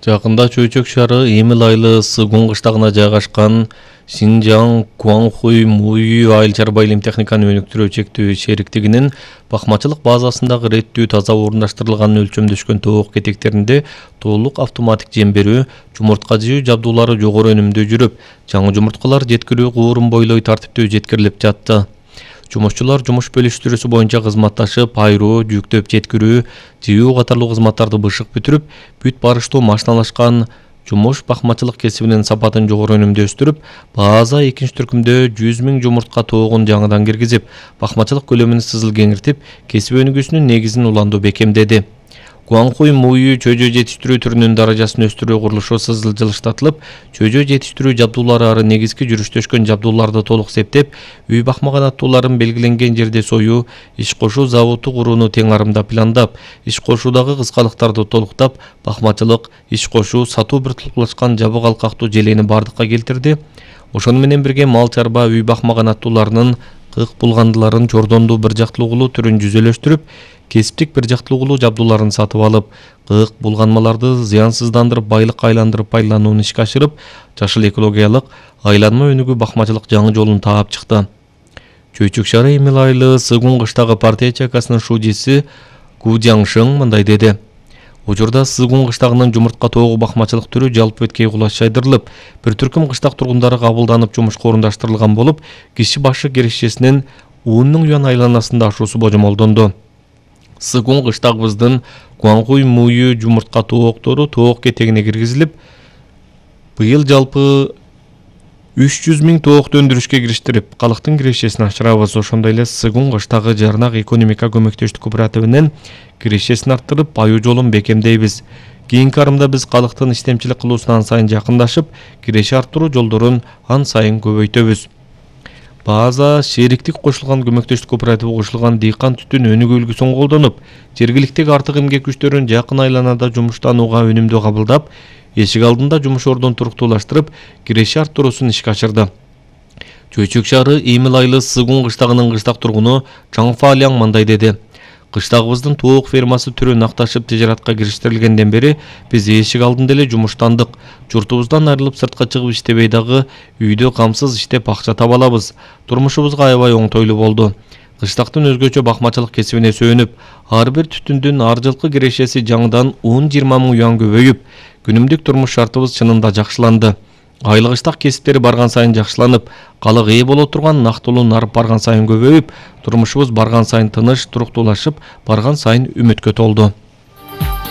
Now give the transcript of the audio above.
Жакында Чөйчөк шаары Эмил айылы Сыгун кыштагына жайгашкан Шинжаң Куаңхуй Муй айыл чарба илим техниканы өнүктүрүү чектөө шериктигинин бакмачылык базасындагы реттүү таза орундаштырылган өлчөмдөшкөн тоок кетектеринде толук автоматик жем берүү, жумуртка жыйуу жабдуулары жогору өнүмдүү жүрүп, жаңы жумурткалар жеткирүү куурун бойлой тартиптүү жеткирилип жатты. Жумушчулар жумуш бөлүштүрүүсү боюнча кызматташып, айруу, жүктөп жеткирүү, жыйуу катарлуу кызматтарды бышык бүтүрүп, бүт барыштуу машиналашкан жумуш бакмачылык кесибинин сапатын жогору өнүмдөштүрүп, база экинчи түркүмдө 100 000 жумуртка тоогун жаңыдан киргизип, бакмачылык көлөмүн сызыл кеңиртип, кесип өнүгүүсүнүн негизин уланду бекемдеди. Куаңхуй Муй чөйжө жетиштирүү түрүнүн даражасын өстүрүү курулушу сызыл жылыштатылып, чөйжө жетиштирүү жабдуулары ары негизги жүрүштөшкөн жабдууларды толук септеп, үй бакмаган аттууларын белгиленген жерде союу, иш кошуу заводу курууну тең арымда пландап, иш кошуудагы кыскалыктарды толуктап, бакмачылык, иш кошуу, сатуу биртукташкан жабык алкактуу желени бардыкка келтирди. Ошону менен бирге мал чарба үй бакмаган аттууларынын кык булгандыларын жордондуу бир жактылуулуу түрүн жүзөлөштүрүп, кесиптик бир жактылуулуу жабдууларын сатып алып, кык булганмаларды зыянсыздандырып, байлыкка айландырып пайдаланууну ишке ашырып, жашыл экологиялык айланма өнүгүү бакмачылык жаңы жолун таап чыкты. Чөйчөк шаары Эмил айылы Сыгун кыштагы партия чайкасынын шуудиси Ку Жаңшың мындай деди. Учурда Сыгун кыштагынын жумуртка тоогу бакмачылык түрү жалпы өткөй кулаш жайдырылып, бир түркүм кыштак тургундары кабылданып жумушка орундаштырылган болуп, киши башы кирешесинин 10 000 юан айланасында ашуусу божомолдонду. Сыгун кыштагыбыздын Куаңхуй Муй жумуртка тооктору тоок кетегине киргизилип, быйыл жалпы 300 000 тоокты өндүрүшкө кириштирип, калктын кирешесин ашырабыз. Ошондой эле Сыгун кыштагы Жарнак экономика көмөктөштүк кооперативинин кирешесин арттырып, аюу жолун бекемдейбиз. Кийинки арымда биз калктын иштемчилик кылуусуна ан сайын жакындашып, киреше арттыруу жолдорун ан сайын көбөйтөбүз. База шериктик кошулган көмөктөштүк кооперативи кошулган дыйкан түтүн өнүгүү үлгүсүн колдонуп, жергиликтеги артык эмгек күчтөрүн жакын айланада жумуштанууга өнүмдүү кабылдап, эшик алдында жумуш ордун туруктуулаштырып, киреше арттыруусун ишке ашырды. Чөйчөк шаары Эмил айылы Сыгун кыштагынын кыштак тургуну Чаңфа Аляң мындай деди. Кыштагыбыздын тоок фермасы түрү накташып тижаратка кириштирилгенден бери биз эшик алдында эле жумуштандык. Журтубуздан айрылып сыртка чыгып иштебей дагы үйдө камсыз иштеп акча таба алабыз. Турмушубузга аябай оңтойлуу болду. Кыштактын өзгөчө бакмачылык кесибине сөөнүп, ар бир түтүндүн ар жылкы кирешеси жаңыдан 10-20 000 юан көбөйүп, күнүмдүк турмуш шартыбыз чынында жакшыланды. Айлык ыштак кесиптери барган сайын жакшыланып, калык ээ боло турган нактылуу нарып барган сайын көбөйүп, турмушубуз барган сайын тыныч, туруктуулашып, барган сайын үмүткө толду.